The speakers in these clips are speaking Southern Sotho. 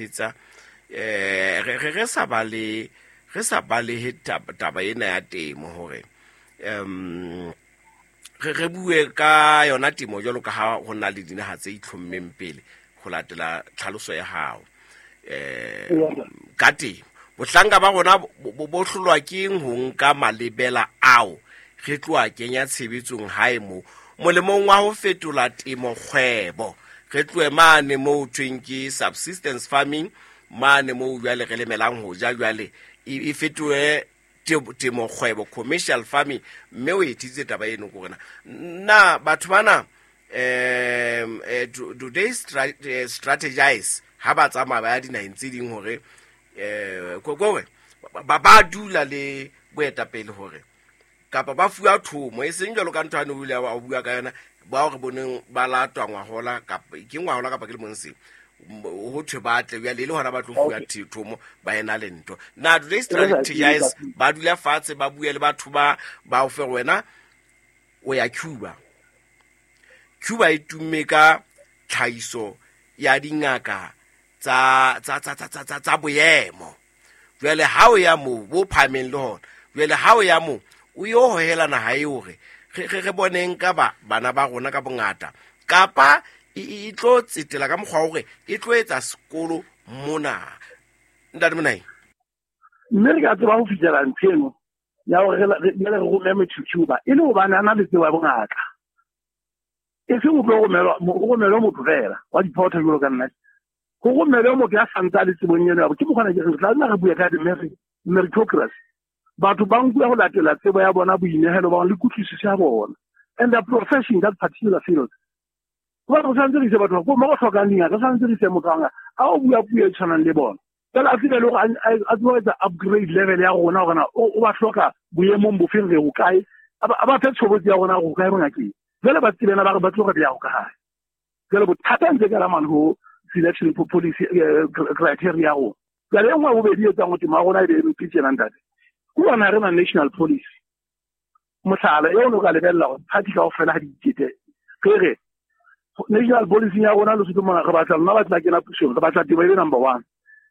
thetsa re sa bale re sa balehe taba ena ya temo hore re bue ka yona temo jwalo ka ha ho na le dinaha tse itlhommeng pele ho latela tlhaloso ya hao ka temo. Bohlanka ba rona bo hlolwa ke eng ho nka malebela ao re tloa kenya tshebetsong hae mo molemong wa ho fetola temo kgwebo, re tlohe mane moo thweng ke subsistence farming, mane moo jwale re lemelang ho ja, jwale e fetohe temo kgwebo, commercial farming. Mme o ethitse taba eno ko rena na batho bana do they strategize ha ba tsamaya ba ya dinaheng tse ding hore kore ba dula le boetapele hore kapa ba fuwa thomo e seng jwalo ka ntho ane o ile wa bua ka yona bao re boneng ba latwa ngwahola kapa ke ngwahola kapa ke lemong seo ho thwe ba tle jwale e le hona ba tlo fuwa thomo ba ena le ntho. Na do they strategize, ba dula fatshe ba bue le batho ba o fe wena o ya Cuba? Cuba e tumme ka tlhahiso ya dingaka tsa boemo. Jwale ha o ya moo bo phahameng le hona, jwale ha o ya moo o yo hohela naha e hore re boneng ka bana ba rona ka bongata, kapa e tlo tsetela ka mokgwa hore e tlo etsa sekolo mona. Ntate Monai, mme re ka tseba ho fihlela ntho eno ya hore re rome motho Cuba e le hobane a na le tsebo ya bongaka, e seng ho tlo romelwa motho fela wa diphotho jwalo ka nna, ho romelwe motho ya santse a le tsebong eno. Ke mokgona ke re tla nna re bue ka meritocracy, batho ba nkuwa ho latela tsebo ya bona, boinehelo ba bona le kutlwisiso ya bona and the profession, that particular field. Hobane re tshwanetse re ise batho mo go tlhokang dingaka, re tshwanetse re ise motho a o bua puo e tshwanang le bona, fela a tsebe le hore a tsebe ho etsa upgrade level ya rona hore na o ba hloka boemong bofeng, re ho kae, a ba fe tshobotsi ya rona ho kae bongakeng. Jwale ba tsebena ba re ba tlo re beya ho kae. Jwale bothata ntse ka la mane ho selection policy criteria ya rona. Jwale e nngwe ya bobedi e etsang ho temo ya rona e be e mpe tjena ntate, ke hobane ha re na national policy. Mohlala eo o ka lebella hore party kaofela ha di ikete, re re national policy ya rona Lesotho mona re batla lona ba tla kena pusong, re batla temo e be number one.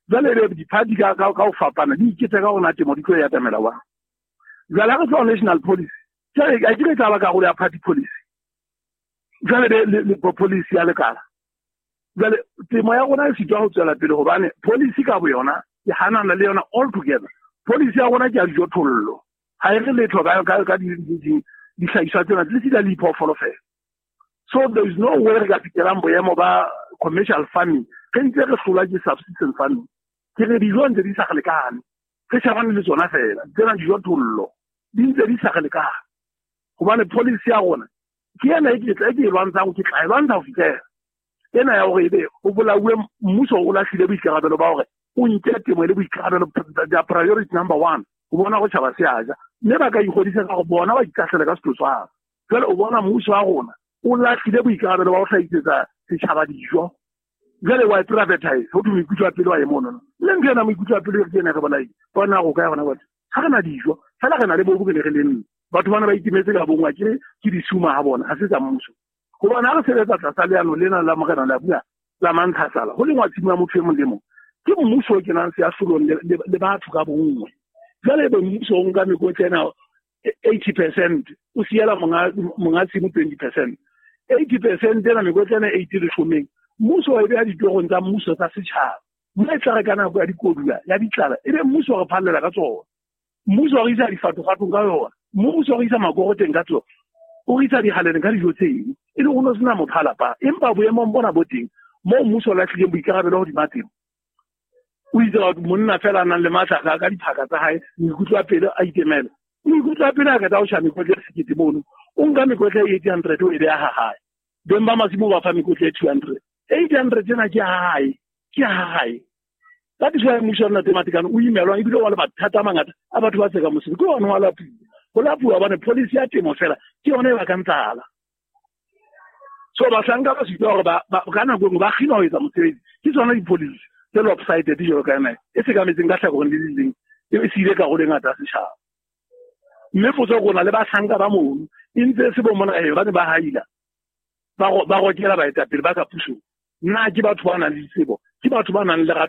Jwale ebe di-party ka ho fapana di ikete ka hore na temo di tlo e atamela wa. Jwale ha re tloha national policy, jwale a ke re tla ba karolo ya party policy, jwale be le policy ya lekala. Jwale temo ya rona e sitwa ho tswela pele hobane policy ka boyona ke hanana le yona all together. Policy ya rona ke ya dijothollo, ha e re letho ka dihlahiswa tsena le sita le diphoofolo fela. So there is no way re ka fihlelang boemo ba commercial farming re ntse re hlolwa ke subsistence farming. Ke re dijo ntse di sa re lekane, re shebane le tsona fela tsena dijothollo di ntse di sa re lekane, hobane policy ya rona ke ena e ke e lwantshang, ke tla e lwantsha ho fihlela ena ya hore ebe ho bolauwe mmuso o lahlile boikarabelo ba hore o nke temo e le boikarabelo, their priority number one, ho bona ho tjhaba se a ja, mme ba ka ikgodisa ka hore bona ba ikahlele ka setotswana. Jwale o bona mmuso wa rona o lahlile boikarabelo ba ho hlahisetsa setjhaba dijo, jwale wa e privatize, ho thwe moikutlo wa pele wa e mono. Le ntho ena moikutlo wa pele ke ena re bolaile, bona go kae hona batho ha re na dijo fela, re na le bobo re ne re lemme. Batho bana ba itimetse ka bongwa ke disuma ha bona, ha se tsa mmuso. Hobane ha re sebetsa tlasa leano lena la morena la bua la mantlhasala, ho lengwa tshimo ya motho e mong le mong, ke mmuso o kenang seahlolong le batho ka bonngwe. Jwale ebe mmuso o nka mekotla ena 80%, o siela monga tshimo 20%. 80% ena mekotla ena 80 leshomeng, mmuso wa e beha ditorong tsa mmuso tsa setjhaba. Mme e tla re ka nako ya dikodula ya ditlala, ebe mmuso wa re phallela ka tsona, mmuso wa re isa difatofatong ka yona, mmuso wa re isa makoroteng ka tsona, o re isa dihaleleng ka dijo tseno, e le ho no sena motho a lapang. Empa boemong bona bo teng moo mmuso o lahlileng boikarabelo hodima temo, o itse batho monna fela a nang le matla ka diphaka tsa hae, moikutlo wa pele a itemela, moikutlo wa pele a qeta ho tjha mekotla e 1000 mono, o nka mekotla e 800 o e beha ha hae, beng ba masimo ba fa mekotla e 200, 800 tsena ke ha hae, ke ha hae. Ka thuso ya mmuso wa Ntate Matekane o imelwang ebile wa le mathata a mangata a batho ba tseka mosebetsi, ke ona wa lapuwa, ho lapuwa hobane policy ya temo fela ke yona e bakang tlala. So bahlanka ba sitwa hore ka nako e nngwe ba kginwa ho etsa mosebetsi, ke tsona di-policy tse lopsided jwalo ka ena e sekametseng ka hlakoreng le le leng, e siile karolo e ngata ya setjhaba. Mme potso ke rona le bahlanka ba mono e ntse e se bo mona ba ne ba haila, ba rokela baetapele ba ka pusong. Na ke batho ba nang le ditsebo, ke batho ba nang le lerato